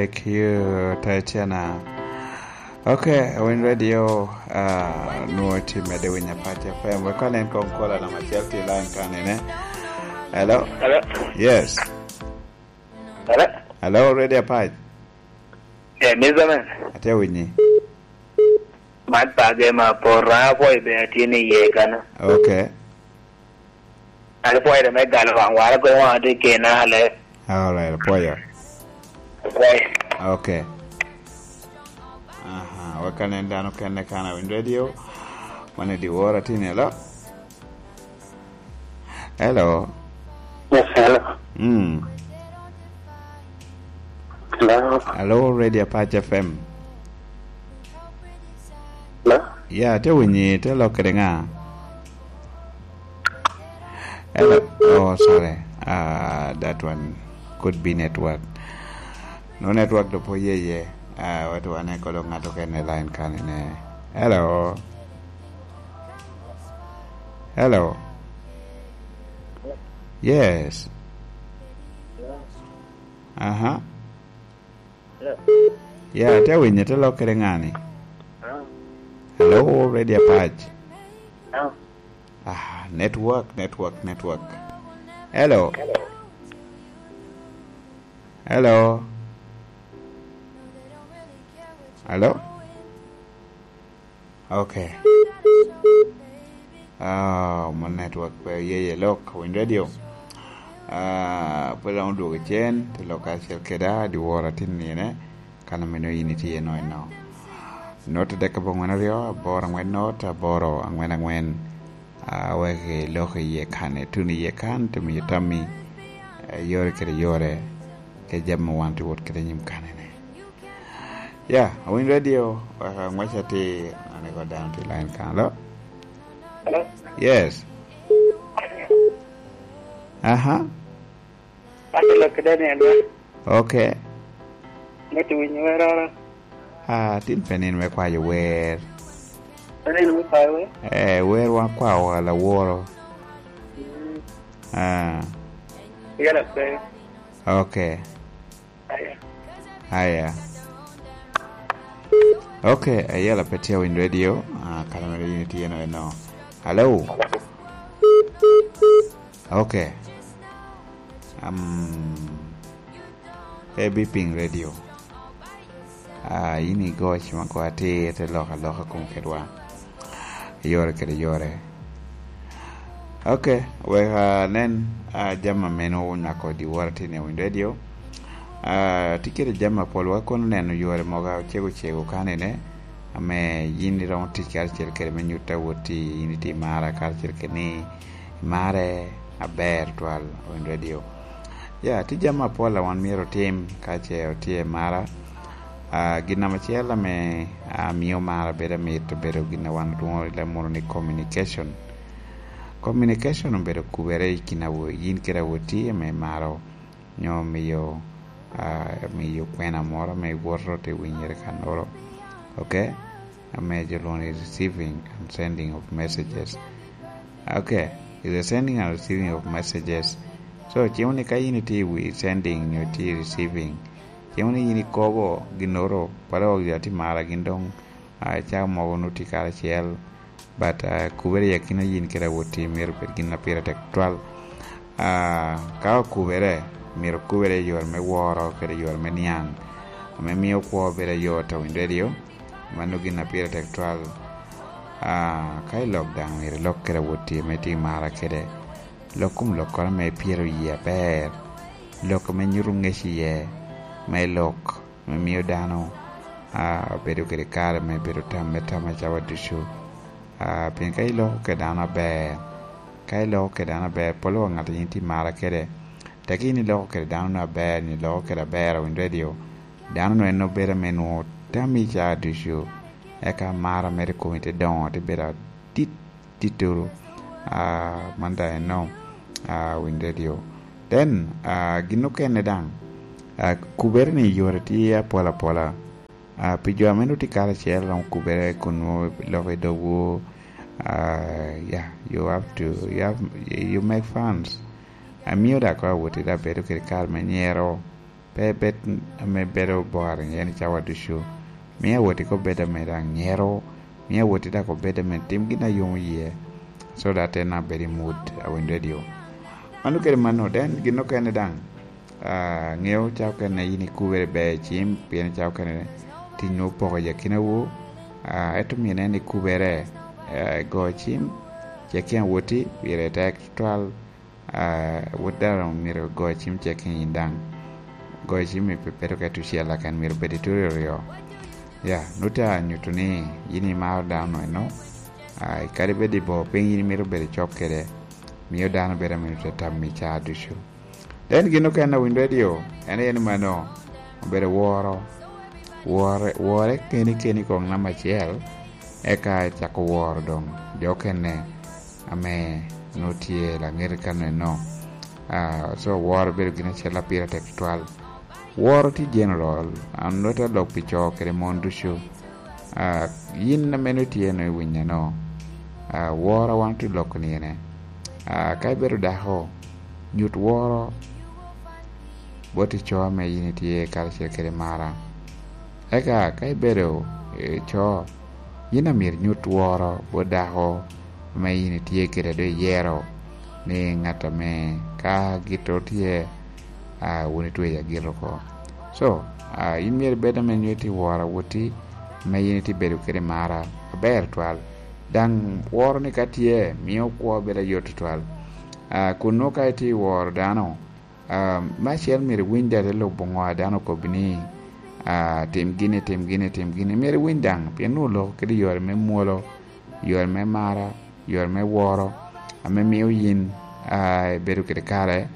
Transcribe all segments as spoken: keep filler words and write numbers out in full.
Thank you, Tatiana. Ok, Win Radio, ah, nwoŋo tye medde winyo Apac F M. Wek onen kong kola namba acel tye i line kanene. Hello? Hello? Yes. Hello? Hello, Radio Apac. Eh, Mister Man. Atye winyi. Man page ma pora, apwoyo be atye ni iye kano. Ok. An apwoyo me galo waŋ wara, goyo waŋ atye kena ale. All right, apwoyo. Apwoyo. Ok. Aha, wek anen dano kene kan a Win Radio. Wan i dyewor atye ni, hello? Hello? Yes, hello. Mm. Hello? Hello, Radio Apac F M. Hello? Ya, te winyi, te lok kede ŋa? Hello? Oh, sorry. Ah, that one could be network. No network do po ye ye. Ah, watu wane kolo ŋato kene line kanene. Hello? Hello? Yes. Aha. Yeah, te winyo, te lok kede ŋani. Hello, Radio Apac. Ah, network, network, network. Hello. Hello. Hello. Ok. Ah, mo network pe ye ye lok, Win Radio. Ah, pe dong odwogo cen, te lok karacel keda, dyewor atin nine, kan omeno yin itye eno eno. Not adek abongwen aryo, aboro angwen not, aboro angwen angwen. Ah, wek ilok iye kan, ituno iye kan, te miyo tammi, eh, yore kede yore, ke jami ma wan tye wot kede nyim kanene. Ya, Win Radio, wek aŋwec atir, an ego dano tye line kan. Hello? Hello? Yes. Aha. Ate lok kede ni alo. Ok. Mito winyo wer oro. Ah, tin pe nin me kwayo wer. Pe nin me kwayo wer? Eh, wer wan kwao wa laworo. Mm. Ah. Yala pe. Ok. Aya. Aya. Ok, ayela pe tye Win Radio. Ah, kara mere yin itye eno eno. Hello? Ok. Um, A B Ping Radio. Ah, yin igoc ma ko atir, te lok aloka kom kedwa. Yore kede yore. Ok, wek anen, ah, jami a meno onywako dyewor atin i Win Radio. Ah, tye kede jami apol, wa kono neno yore mogo ocego ocego kanene, ame yin iromo tic karacel kede me nyutta wot i, yin itye i mara karacel kede ni imare aber twal, Win Radio. Ya, tye jami apol a wan myero otim ka ce otye i mara. Ah, gin namba acel ame, ah, mio mara bedo amit, obedo gin a wan olwoŋo i leb munu ni communication. Communication obedo kubere i kin awo-, yin kede awoti ame imaro, nyo miyo, ah, miyo kwena moro ame iwoto te winyere kannoro. Ok? Ame jo lwongo ni receiving and sending of messages. Ok, is the sending and receiving of messages. So, cimo ni ka in itye i wi sending nyo itye i receiving, cimo ni in ikobo ginnoro, pala wok jo atye mara gin dong, ah, caa mogo onut tye karacel, but, ah, kubere i akina yin kede awoti myero obed gin a pire tek twal. Ah, ka okubere, myero okubere i yore me woro kede yore me niaŋ, ame mio kwo bedo ayot a Win Radio. Mano gin a pire tek twal. Ah, ka i lok daŋ myero ilok kede awoti ame itye i mara kede. Lok kom lokkoro ame ipyero yie aber. Lok ame nyuto ŋec iye, me lok ame mio dano, ah, bedo kede kare me bedo tam me tam acawa ducu. Ah, pien ka iloko kede dano aber, ka iloko kede dano aber, polo wa ŋat a yin itye i mara kede, tek in iloko kede dano-nu aber, ni iloko kede aber a Win Radio, dano-nu en obedo ame nwoŋo tammi caa ducu, eka mara mere i komi te doŋo, te bedo adit, dittoro, ah, man daŋ eno, ah, Win Radio. Then, ah, gin okene daŋ, ah, kubere ni yore tye apol apola. Ah, pi jo ame nwoŋo tye karacel, romo kubere kun nwoŋo loko i dogwu, ah, yeah, you have to, you have, you make fans. Amio daŋ kono awoti daŋ bedo kede kare me nyero, Pe bed ame bedo boring en i cawa ducu. Mio awoti ko bed ame daŋ nyero, mio awoti daŋ obed ame tim gin a yomo yie, so that en abed i mood a winy radio. Mano kede mano, then gin okene daŋ, ah, ŋeo ca okene yin ikubere ber i cim, pien ca okene tin nwoŋo poko i akinawu, ah, ento myero nen ikubere, ah, i go cim, cek kien awoti, pire tek tutwal, ah, wot dano myero go cim cek kien yin daŋ. Go cim i pe-, peto ka tucel, lakin myero bed i turi oryo. Ya, nut a nyuto ni yin imaro dano eno, ah, kadi bed i bor piny yin imito bedo cok kede, mio dano bedo ame nut a tammi ca ducu. Then gin okene a winy radio, en aye ni mano, obedo woro. Wore, wore keni keni koŋ namba acel, eka icako woro doŋ jo okene ame nwoŋo tye laŋet i kano eno. Ah, so woro bedo gin acel a pire tek tutwal. Woro tye general, an nwoŋo te lok pi co kede mon ducu. Ah, yin ame nwoŋo itye eno i winyeno, ah, woro a wan otye loko ni ene. Ah, ka ibedo dako, nyut woro bot i co ame yin itye karacel kede mara. Eka ka ibedo i co, yin amyero inyut woro bot dako ame yin itye kede, a doŋ iyero ni ŋat ame ka gitto tye, ah, wun itweyo agit oko. So, ah, yin myero ibed ame nyo itye woro awoti, ame yin itye bedo kede mara aber twal. Daŋ woro ni ka tye, mio kwo bedo ayot tutwal. Ah, kun nwoŋo ka itye woro dano, ah, me acel myero iwiny daŋ te lubo ŋo a dano okobbi ni, ah, tim gini, tim gini, tim gini. Myero iwiny daŋ, pien nwoŋo oloko kede yore me mwolo, yore me mara, yore me woro, ame mio yin, ah, ibedo kede kare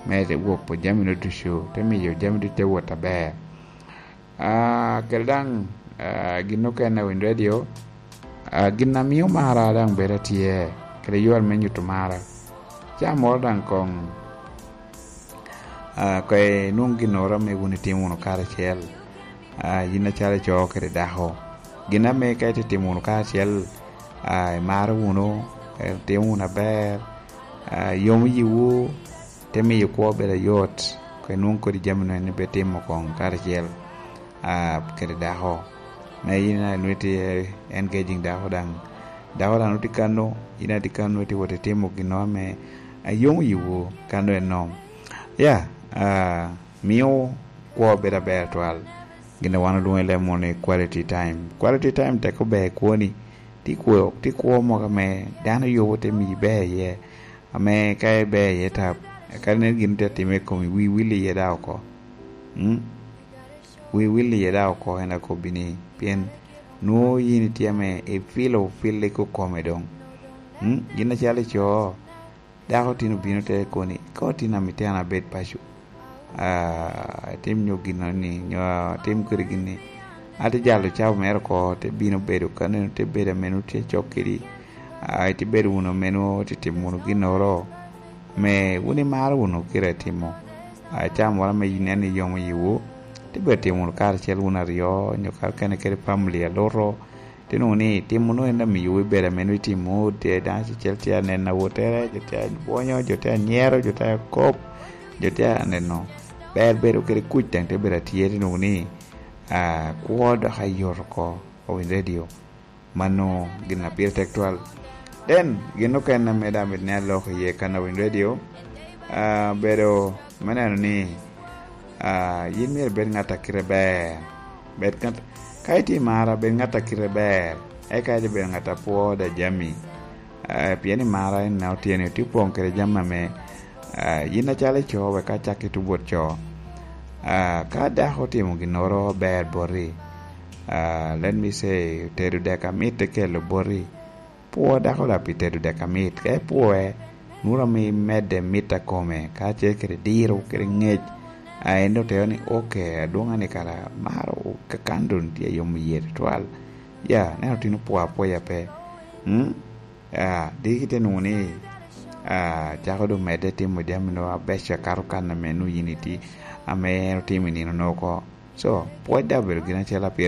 me wok po jami-nu ducu, te miyo jami ducu te wot aber. Ah, kede daŋ, ah, gin okene a winy radio, ah, gin a mio mara daŋ bedo atye, kede yore me nyuto mara. Ca moro daŋ koŋ, ah, koŋ inwoŋ ginnoro ame wun itimo wunu karacel, ah, yin acalo ico kede dako. Gin ame ka itye timo wunu karacel, ah, imaro wunu, eh, itimo wunu aber, ah, yomo yiwu, te miyo kwo bedo ayot, koŋ inwoŋ kodi jami-nu en ibe timo koŋ karacel, ah, kede dako. Me yin a nwoŋo itye engaging dako daŋ, dako daŋ nwoŋo tye kano, yin a tye kano itye wot itimo ginnoro ame, ah, yomo yiwu kano eno. Ya, ah, mio kwo bedo aber twal. Gin a wan olwoŋo i leb munu ni quality time. Quality time tek ober i kwoni. Tye kwo, tye kwo mogo ame dano yubo te miyi ber iye, ame ka iber iye tap, kadi nen gin tye atime i komi, wi wil iye daŋ oko. Mm? Wi wil iye daŋ oko, en akobbi ni, pien nwoŋo yin itye ame ifilo fil i kokome doŋ. Mm? Gin acalo ico, dako tin obino te koni, "Ka otin amito an abed paco, ah, atim nyo ginnoni, nyo atim kodi gin-ni." Ate jalo cawa mere oko, te bino bedo kaneno, te bedo ame nwoŋo tye cok kedi, ah, ite bedo wunu ame nwoŋo ite timo wunu ginnoro, ame wun imaro wunu kite timo. Ah, cawa moro ame inen ni yomo yiwu, te bedo timo wunu karacel wun aryo, nyo kara kene kede family aluto, te nwoŋo ni timo nwoŋo en amiyo ibedo ame nwoŋo itimo, tye daŋ acel tye aneno awottere, jo tye abwonyo, jo tye anyero, jo tye akop, jo tye aneno. Ber bedo kede kuc daŋ te bedo atye, te nwoŋo ni, ah, kwo dok ayot oko, owiny radio. Mano gin a pire tek twal. Then, gin okene ame daŋ mit ni aloko iye kan owiny radio, ah, bedo me neno ni, ah, yin myero ibed ŋat a kite ber. Bed ŋat, ka itye i mara, bed ŋat a kite ber. Eka ite bedo ŋat a pwo da jami. Ah, pien i mara en na otyeno itye opoŋ kede jami ame, ah, yin acalo ico, wek acak i tubot co. Ah, ka dako otimo ginnoro ber boti, ah, let me say, otedo dek amit te kelo boti, pwo dako daŋ pi tedo dek amit. Ka ipwoe, nwoŋo ame imedde mit a kome, kacel kede diro, kede ŋec. A en oteo ni, "Ok, adwoŋa ni kara maro kakan doŋ tye a yomo yie tutwal." Ya, neno tin opwo apwoya pe. Mm? Ah, diki te nwoŋo ni, ah, cako doŋ medde timo jami-nu abeco akato kan ame nwoŋo yin itye, ame en otimo i nino-nu oko. So, pwoc daŋ obedo gin acel a pire